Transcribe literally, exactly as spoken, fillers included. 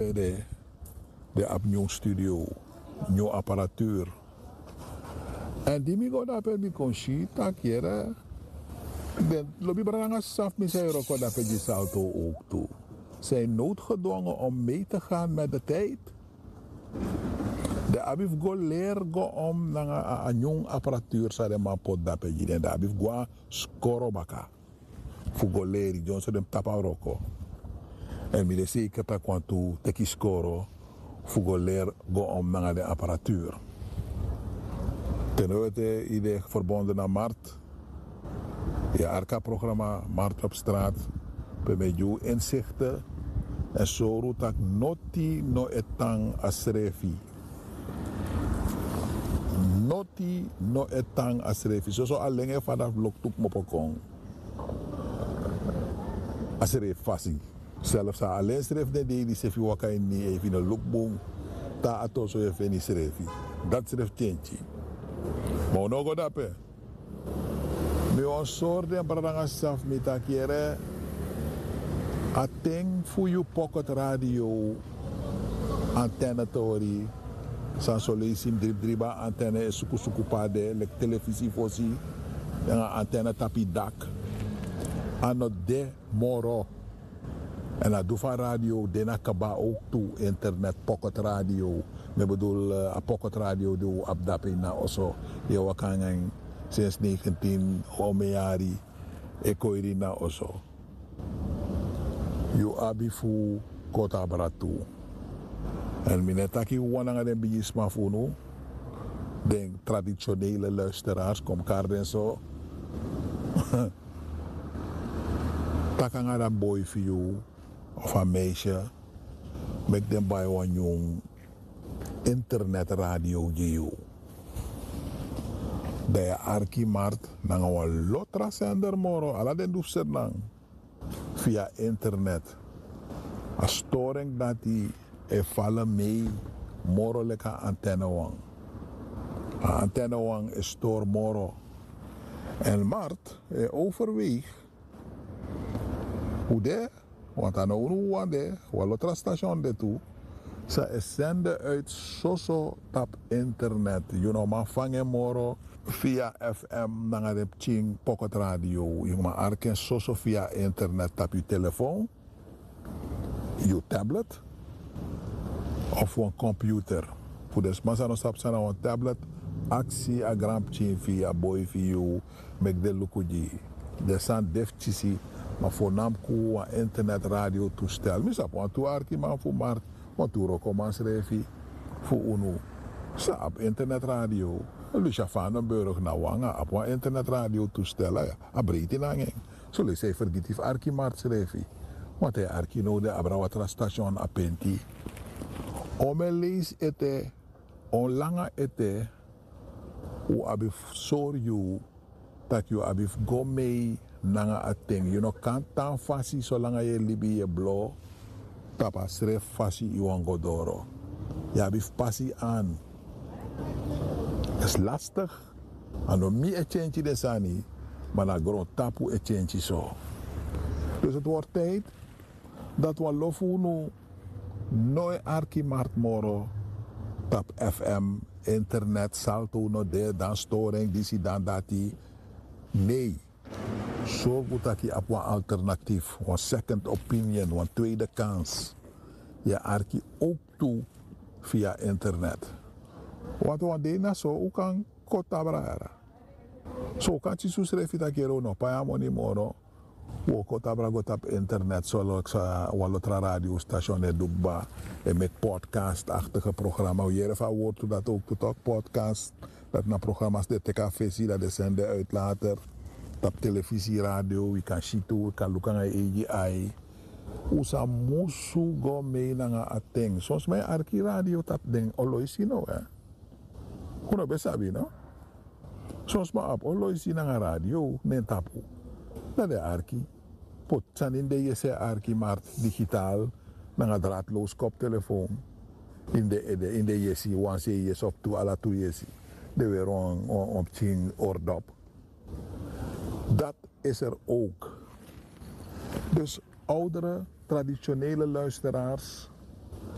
De, de abi nyun studio, nyun aparatuur. Èn di mi go dape mi kon si tak' yere, den lobi brada nanga sisa fu mi san e wroko dape gi Salto ook tu. Zijn noodgedwongen om mee te gaan met de tijd. Den abi fu go leri go om nanga a, a nyun aparatuur san den man poti dape gi den. Den abi fu go na skoro baka fu go leri dyonso den mus tapu a wroko. Èn mi de seker tak' wantu teki skoro fu go leri go om nanga den aparatuur. Te no wete yu de verbonden na Mart. Yu e arki a programa Mart op straat, pe mi e gi unu insikte èn sori unu tak' noti no e tan a srefi. Noti no e tan a srefi. Soso alen e fada fu loktu kmopo kon a srefi fasi. Selfs a alen srefi den dei di sefi waka ini, efu yu no luku bun, te a torso yu e feni srefi. Dati srefi tyentyi. Ma un no o go dape. Mi wani sori den brada nanga sisa fu mi tak' yere, a ten fu yu pocket radio, antenne tori, san son leisi mi dribdriba antenne e sukusuku pe a de leki telefisi fosi, nanga antenne tapu yu dak, a no de moro. Èn a du fu a radio de na kaba ook tu, internet, pocket radio. Mi e bedul, eh, a pocket radio di un abi dape ini a oso, yu e waka nanga en sensi negentien, omeyari e kon iri ini a oso. Yu abi fu koti abra tu. Èn mi no e taki wan nanga den bigisma fu unu, den traditionele luisteraars, kon mi kari den so. Taki nanga den boi fu yu of a meisje, meki den bai wan nyun internetradio gi yu. Dan yu e arki Mart nanga wan lo tra sender moro, ala den du fu Sranan, via internet. A storing dati e fala mee moro leki a antenne wan. A antenne wan e stori moro. Èn Mart e overweeg fu de, want a no unu wawan de, wan lo tra station de tu, san e sende uit soso tapu internet. Yu no man fanga en moro via F M nanga den pikin pocket radio. Yu man arki en soso via internet tapu yu telefoon, yu tablet of wan computer. Fu den sma san no sabi san na wan tablet, aksi a granpikin fu yu, a boi fu yu, meki den luku gi yu. Den sani de fu kisi, ma voornamelijk wan internet radio toestel. Mi sabi wantu arkiman fu Mart, wantu wrokoman srefi fu unu san abi internet radio. Lucia Vandenburg na wan, a abi wan internet radio toestel, a breiti nanga en. Soleisi a e fergiti fu arki Mart srefi. Want a e arki now, den abra wan tra station a Penti. On mi e leisi ete, on langa ete, un abi fu sori yu tak' yu abi fu go mee nanga a ten. Yu no kan tan fasi solanga yu e libi, yu e blo tapu a srefi fasi yu wani go doro. Yu abi fu pasi an. Is lastig. A no mi e tyentyi den sani, ma na grontapu e tyentyi so. Dus het wordt tijd dat wan lo fu unu no e arki Mart moro tapu F M, internet, Salto no de, dan storing, disi, dan dati. Nee. Sorgu tak' yu abi wan alternatief, wan second opinion, wan tweede kans. Yu e arki ook tu via internet. Want wan dei na so un kan koti abra yara. So un kan kisi unsrefi tak' yere un no pai a moni moro. Un o koti abra go tapu internet, so leki san wan lo tra radio station e du kba, e meki podcast-achtige programma. Un yere fu a wortu dati ook tu, toch, podcast. Dati na programma's di e teki a fesi, dan den sende uit later tapu telefisi, radio, wi kan si tu, wi kan luku nanga yu eigi ai. Un sa musu go mee nanga a ten. Son sma e arki radio tapu den oloisi no, eh. Un no ben sabi no. Son sma abi oloisi nanga radio na en tapu. Dan den e arki. Poti sani ini den yesi, e arki Mart digitaal nanga draadloos koptelefoon. Ini den ede, ini den yesi, wan sei yesi of tu, ala tu yesi. Den weri wan, wan, wan pikin oordop. Dat is er ook. Dus oudere, traditionele luisteraars,